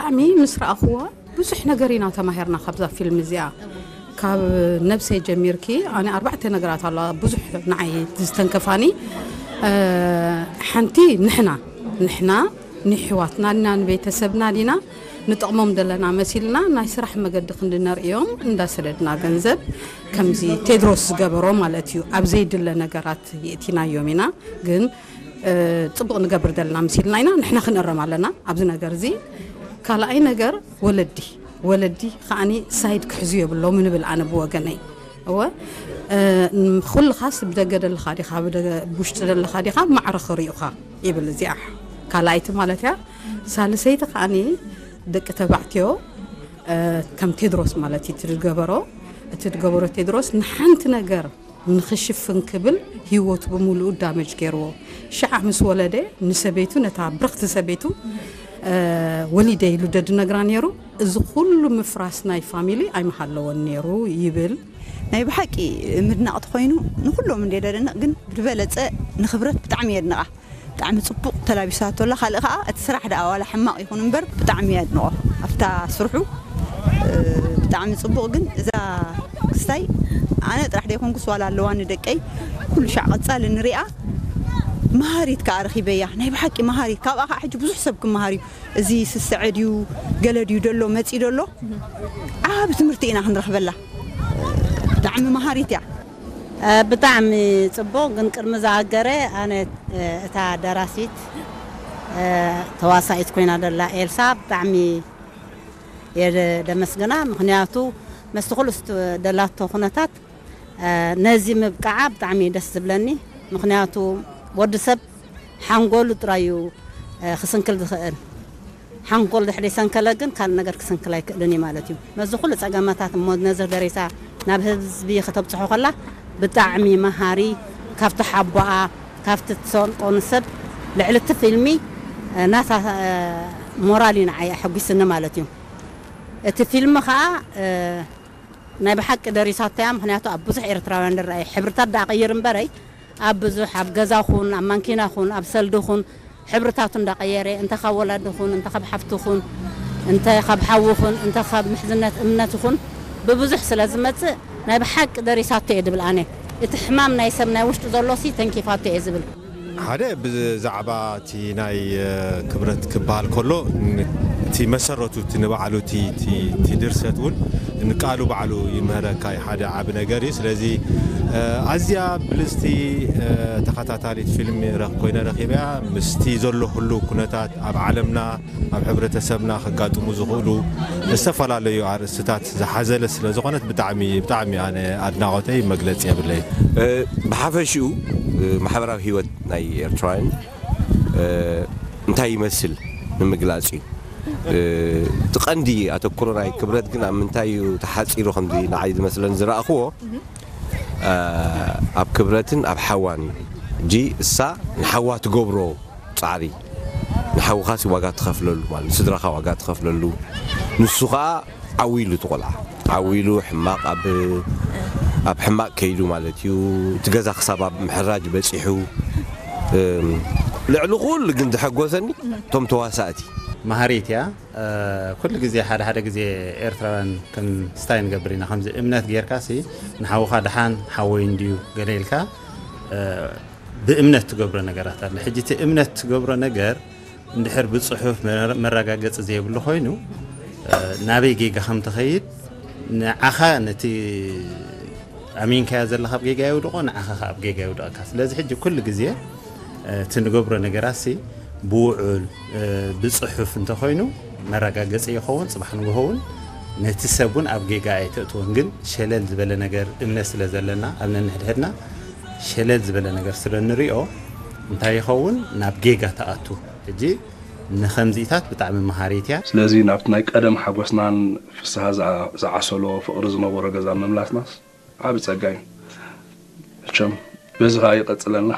ብጣዕሚ ምስ ረኣኽዋ ብዙሕ ነገር ኢና ተማሂርና ካብዛ ፊልም እዚኣ። ካብ ነብሰይ ጀሚርኪ ኣነ ኣርባዕተ ነገራት ኣለዋ ብዙሕ ንዓይ ዝተንከፋኒ። ሓንቲ ንሕና ንሕና ንሕዋትና ዲና ንቤተሰብና ዲና ንጠቕሞም ዘለና መሲልና ናይ ስራሕ መገዲ ክንዲ ነርእዮም እንዳሰደድና ገንዘብ ከምዚ ቴድሮስ ዝገበሮ ማለት እዩ። ኣብ ዘይድለ ነገራት የእቲናዮም ኢና። ግን ጽቡቕ ንገብር ዘለና መሲልና ኢና ንሕና ክንእረም ኣለና ኣብዚ ነገር እዚ። ካልኣይ ነገር ወለዲ ወለዲ ከዓኒ ሳይድ ክሕዙ የብሎም ንብል ኣነ ብወገነይ። እወ ኩልኻስ ብደገ ደለኻ ዲኻ ብውሽጢ ደለኻ ዲኻ ማዕረ ክሪኡኻ ይብል እዚኣ ካልኣይቲ ማለት እያ። ሳልሰይቲ ከዓኒ ደቂ ተባዕትዮ ከም ቴድሮስ ማለት እዩ ትድገበሮ እቲ ትገበሮ ቴድሮስ ንሓንቲ ነገር ንኽሽፍን ክብል ህይወቱ ብምሉኡ ዳመጅ ገይርዎ። ሽዓ ምስ ወለደ ንሰበይቱ ነታ ብርኽቲ ሰበይቱ ወሊደ ኢሉ ደድነግራ ነይሩ። እዚ ኩሉ ምፍራስ ናይ ፋሚሊ ኣይምሃለወን ነይሩ ይብል። ናይ ብሓቂ ምድናቕ ተኾይኑ ንኩሎም እንደ ደደንቕ ግን ብዝበለፀ ንክብረት ብጣዕሚ የድንቓ። ብጣዕሚ ፅቡቕ ተላቢሳቶ ኣላ። ካልእ ከዓ እቲ ስራሕ ደኣ ዋላ ሕማቕ ይኹን እምበር ብጣዕሚ የድንቖ ኣብታ ስርሑ ብጣዕሚ ፅቡቕ። ግን እዛ ክስታይ ኣነ ጥራሕ ደይኮንኩስ ዋላ ኣለዋ ንደቀይ ኩሉ ሻዕ ቀፃሊ ንሪኣ መሃሪት ከዓ ረኺበያ። ናይ ብሓቂ መሃሪት ካብኣ ከዓ ሕጂ ብዙሕ ሰብ ክመሃር እዩ። እዚ ስስዐ ድዩ ገለ ድዩ ደሎ መፂ ደሎ ዓብ ትምህርቲ ኢና ክንረኽበላ። ብጣዕሚ መሃሪት እያ። ብጣዕሚ ፅቡቕ። ግን ቅድሚ ዝኣገረ ኣነ እታ ደራሲት ተዋሳኢት ኮይና ደላ ኤልሳ ብጣዕሚ የደመስግና። ምክንያቱ መስቲ ኩሉ ደላቶ ኩነታት ነዚ ምብቃዓ ብጣዕሚ ደስ ዝብለኒ። ምክንያቱ ወዲ ሰብ ሓንጎሉ ጥራዩ ክስንክል ዝኽእል ሓንጎል ድሕሪ ሰንከለ ግን ካልእ ነገር ክስንክል ኣይክእልን እዩ ማለት እዩ። ነዚ ኩሉ ጸገማታት እሞ ነዚ ደሪሳ ናብ ህዝቢ ከተብጽሖ ከላ ብጣዕሚ መሃሪ፣ ካብቲ ሓቦኣ ካብቲ ትሰንቆ ንሰብ ልዕሊ እቲ ፊልሚ ናታ ሞራል እዩ ንዓይ ኣሐጒስኒ ማለት እዩ። እቲ ፊልሚ ከዓ ናይ ብሓቂ ደሪሳቶ እያ። ምክንያቱ ኣብ ብዙሕ ኤርትራውያን ዝረኣየ ሕብርታት ደኣ ቀይር እምበረይ ኣብ ብዙሕ ኣብ ገዛ ኹን ኣብ ማንኪና ኹን ኣብ ሰልዲ ኹን ሕብርታቱ እንዳቀየረ እንተ ካብ ወላዲ ኹን እንተ ካብ ሓፍቲ ኹን እንተ ካብ ሓዊ ኹን እንተ ካብ ምሕዝነት እምነት ኹን ብብዙሕ ስለ ዝመጽእ ናይ ብሓቂ ደሪሳቶ እየ ድብል ኣነ። እቲ ሕማም ናይ ሰብ ናይ ውሽጡ ዘሎ ሲ ተንኪፋቶ እየ ዝብል። ሓደ ብዛዕባ እቲ ናይ ክብረት ክበሃል ከሎ እቲ መሰረቱ እቲ ንባዕሉ እቲ ድርሰት እውን ንቃሉ ባዕሉ ይምህረካ እዩ። ሓደ ዓብ ነገር እዩ። ስለዚ ኣዝያ ብልፅቲ ተኸታታሊት ፊልም ኮይነ ረኪበያ ምስቲ ዘሎ ህሉ ኩነታት ኣብ ዓለምና ኣብ ሕብረተሰብና ከጋጥሙ ዝኽእሉ ዝተፈላለዩ ኣርእስትታት ዝሓዘለ ስለ ዝኾነት ብጣዕሚ ብጣዕሚ ኣነ ኣድናቆተይ መግለፂ የብለይ። ብሓፈሽኡ ማሕበራዊ ህይወት ናይ ኤርትራውያን እንታይ ይመስል ንምግላፅ እዩ። እቲ ቀንዲ ኣተኩሮ ናይ ክብረት ግን ኣብ ምንታይ እዩ ተሓፂሩ ከምዚ ንዓይ ዝመስለኒ ዝረእኽዎ ኣብ ክብረትን ኣብ ሓዋን እዩ። እጂ እሳ ንሓዋ ትገብሮ ፃዕሪ ንሓውኻሲ ዋጋ ትኸፍለሉ ማለት ንስድራኻ ዋጋ ትኸፍለሉ ንሱ ከዓ ዓው ኢሉ እቲ ቆልዓ ዓው ኢሉ ሕማቕ ኣብ ኣብ ሕማቕ ከይዱ ማለት እዩ። እቲ ገዛ ክሳብ ኣብ ምሕራጅ በፂሑ ልዕሊ ኩሉ ግን ዝሐጎሰኒ እቶም ተዋሳእቲ መሃሪት እያ። ኩሉ ግዜ ሓደ ሓደ ግዜ ኤርትራውያን ከም ስታይ ንገብር ኢና ከምዚ እምነት ጌርካ ሲ ንሓውኻ ድሓን ሓወይ እንድዩ ገለ ኢልካ ብእምነት ትገብሮ ነገራት ኣለ። ሕጂ እቲ እምነት ትገብሮ ነገር እንድሕር ብፅሑፍ መረጋገፂ ዘይብሉ ኮይኑ ናበይ ጌጋ ከም ትኸይድ ንዓኻ ነቲ ኣሚንካዮ ዘለኻ ኣብ ጌጋ የውድቆ፣ ንዓኻ ከ ኣብ ጌጋ የውድቐካ። ስለዚ ሕጂ ኩሉ ግዜ እቲ ንገብሮ ነገራት ሲ ብውዑል ብፅሑፍ እንተኮይኑ መረጋገፂ ይኸውን፣ ፅባሕ ንግሆ እውን ነቲ ሰብ እውን ኣብ ጌጋ ኣይተእትዎን። ግን ሸለል ዝበለ ነገር እምነት ስለ ዘለና ኣብ ነንሕድሕድና ሸለል ዝበለ ነገር ስለ ንሪኦ እንታይ ይኸውን ናብ ጌጋ ተኣቱ። ሕጂ ንኸምዚኢታት ብጣዕሚ መሃሪት እያ። ስለዚ ናብቲ ናይ ቀደም ሓጎስናን ፍስሃ ዝዓሰሎ ፍቕሪ ዝነበሮ ገዛ ምምላስናስ ዓቢ ጸጋ እዩ። መቸም በዚ ከኣ ይቐጽለልና።